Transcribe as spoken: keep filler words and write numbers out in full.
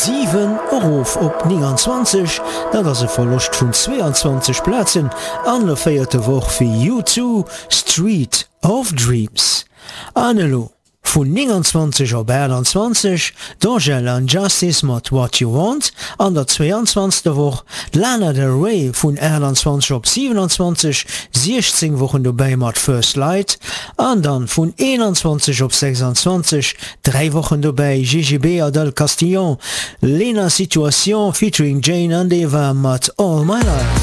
siwen erof op nénganzwanzeg, dat ass e Verloscht vun zweeanzwanzeg Plazen an der véierter Woch fir U Two, Street of Dreams. An elo vun nénganzwanzeg op aachtanzwanzeg, d'Angèle an Justice mat What You Want, an der zweeanzwanzegster Woch d'Lana Del Rey vun aachtanzwanzeg op siewenanzwanzeg, siechzéng Wochen dobäi mat First Light, an dann vun eenanzwanzeg op sechsanzwanzeg, dräi Wochen dobäi, G G B a Del Castillon, Léna Situation featuring Jane an Eva mat All My Life.